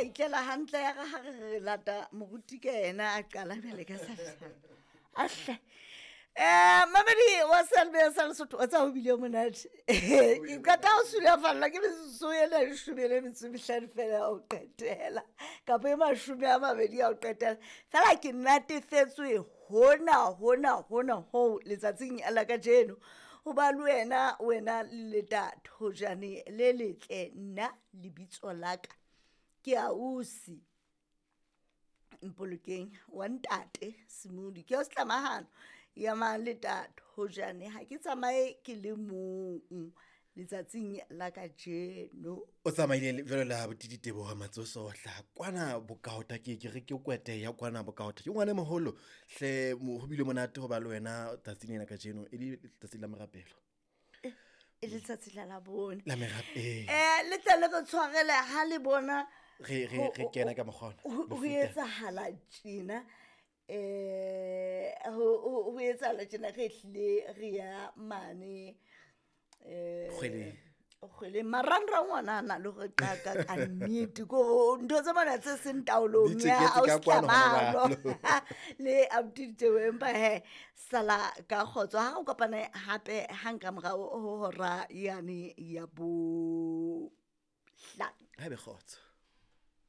ra itlela hantle ya re ha re re lata moruti ke ena a qala bjale ka sa ahle. Mamedi wa selbe sa Lesotho, o tsa ho bile monate. Ke qeta ho sulafallwa ke metsotso ena leshome le metso e mehlano fela ya ho qetela, kapa e 20 ya ho qetela. Fela ke natefetswe hona hona hona hoo letsatsing la kajeno. Ho ba le wena, wena le letathojane le letle, nna lebitso la ka ke ausi Mpolokeng wa ntate Semodi. Ke ya setlamahano ya maletathojane, ha ke tsamaye ke le mong letsatsing la kajeno. O tsamaile jwalo le abuti Diteboho Matsoso hlaha kwana Bokaota, ke ke re ke kwete ya kwana Bokaota. Ke ngwana e moholo hle, ho bile monate ho ba le wena tsatsing lena kajeno, e le letsatsi la merapelo. E letsatsi la Labone. La merapelo. Le tle le re tshwarele ha le bona re kena ka mokgwa ona. Ho etsahala tjena. Ho etsahala tjena, re hlile re ya mane Kgweleng. Kgweleng. Marangrang ona a na le hore qaka ka nnete, ke hore ntho tse mona tse seng taolong Di ya tjeketse ka kwano hona Ausi jwale. Le abuti Diteboho, empa he sala ka kgotso. Ha re kopane hape hang ka morao ho hora yane ya bohlano. Ha ebe kgotso.